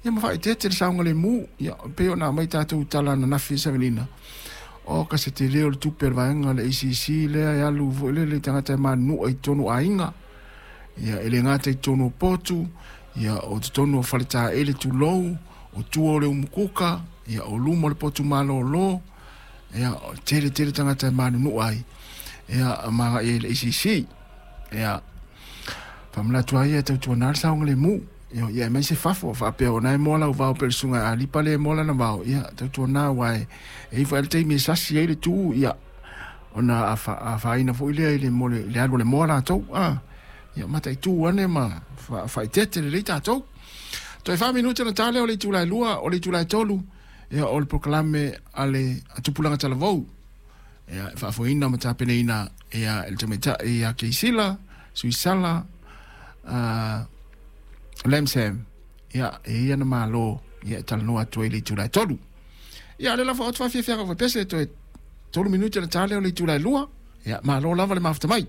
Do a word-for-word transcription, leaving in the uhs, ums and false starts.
Ia ma faaeteete le saogalemu. Ia pei ona aumai tatou tala ananafi i savalina, o ka se tele o le tupe a le vaega le A C C lea e alu foi lele i tagata e manunua i totonu o aiga. Ia e le gata i totonu o potu, ia o totonu o faletaele tulou, o tua o le umukuka, ia o luma o le potu malolo, ia o tele tele tagata e manunua ai, ia ma agai ai i le A C C. Ia faamanatu ai ia tautuana le saogalemu. Ia, ia mai se fafo faapea ona e moa lau vao pe le susuga a lipa le moa lana vao. Ia tautuana uae e ifo ai le taimi e sasi ai le tu, ia ona afaina foi lea i le mo le le alu o le moa latou. Ah, ia mataitu ane ma faaeteete lelei tatou. Toe fa minute na tale o le itula e lua, o le itula e tolu, ia o le polokalame a le Tupulaga Talavou. Ia e faafoeina ma tapenaina ia e le tamaitai ia Keisila, Suisala, uh, Lamsam. Ia e ia na malo, ia e talanoa atu ai i le itula e tolu. Ia le lafa o atu faafiafiaga fai pese toe tolu minute na tale o le itula e lua. Ia malo lava le mafuta mai.